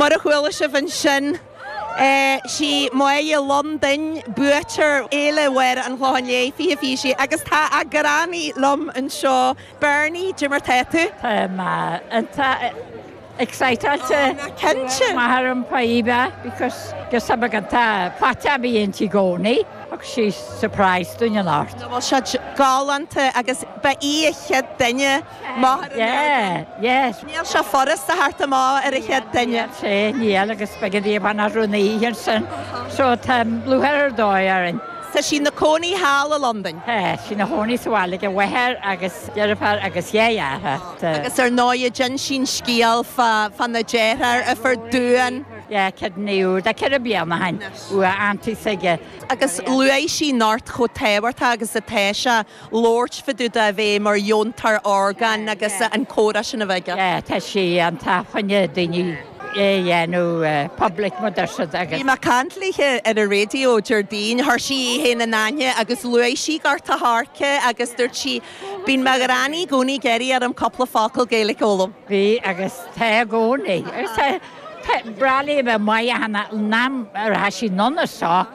Mar a chuala sibh ansin, sí Máire Londain buaiteoir Fhéile Mháire an Chlocháin Léith 2026 agus tá a granny liom anseo. Bernie, cad é mar tá tú? Tá mé iontach exciteáilte. Ná cinnte. Maith orm faoi because just tá beagán tá faighte a bhí inti i gcónaí agus sí surprise dúinn anocht. Bhfuil sé galánta agus ba í a chéad duine máthair an Yeah, yes. Níl sé furasta theacht amach ar a chéad duine. Níl sé, níl agus beidh an bhean as rúnaí ansin so tá lúcháir ar dóigh orainn. Tá sí 'na cónaí thall i Londain. Tá sí 'na chónaí sa bhaile ag a mháthair agus deirfiúr agus dhá dheartháir. Agus ar ndóighe d'inis sí an scéal fá na deartháir a fuair duan. Yeah, kidney úr, tá 4 bliana ó shin, uaidh auntie s'aige. Agus luaigh sí anocht chomh tábhachtach agus atá sé labhairt fá dtaobh de a bheith mar dheontóir orgán agus an comhrá sin a bheith aige. Yeah, tá sí iontach fá choinne daoine é a dhéanamh public mar deir siad agus. Bhí mé ag caint léithe ar an raidió Déardaoin, chuir sí í féin in aithne agus luaigh sí Gort a' Choirce agus dúirt sí, Bíonn mo ghranny i gcónaí ag iarraidh orm cúpla focal Gaeilge a fhoghlaim. Bhí agus tá i gcónaí. Agus tá, tá, breá léi a bheith maith ach an am a raibh sí anonn as seo.